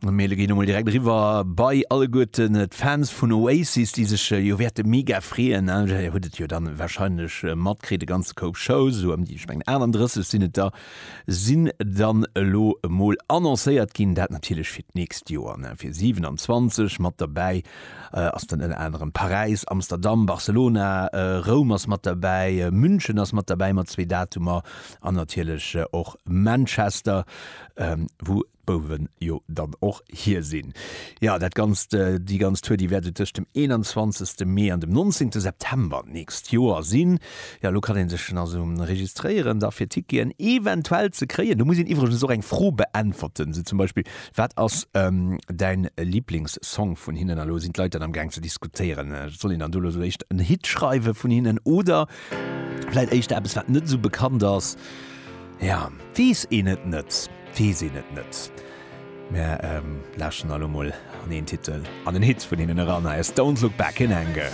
Mir ginn emol direkt eriwwer bei alleguerten d'Fans vun Oasis, déi sech jo wäerte mega freeën. Dir hutt et jo dann warscheinlech matkritt, e ganze Koup Shows, esou ëm déi, ech mengen 38 sinn et der, sinn dann elo emol annoncéiert ginn. Dat natierlech fir d'nächst Joer, fir 27. Mat derbäi ass dann ënner anerem Paräis, Amsterdam, Barcelona, Roum ass mat derbäi, München ass mat derbäi mat zwee Datumer an natierlech och Manchester, wou d'Bouwen jo dann och hier sinn. Jo, dat Ganzt, déi ganz Tour, déi wäert esou tëscht dem 21. Mee an dem 19. September d'nächst Joer sinn. Jo, elo kann ee sech schon also registréieren da fir Ticketen eventuell ze kréien. Do muss een iwwregens och eng Fro beäntwerten, esou zum Beispill, Wat ass däin Liblingssong vun hinnen? A lo sinn d'Leit dann am Gaang ze diskutéieren, soll een dann do elo esou éischter en Hit schreiwe vun hinnen oder vläit éischter eppes, wat net esou bekannt ass? Ja, weess een et net, weess een et net. Mär lauschteren elo mol an een Titel, an en Hit vun hinnen eran. Hei ass Don't Look Back in Anger.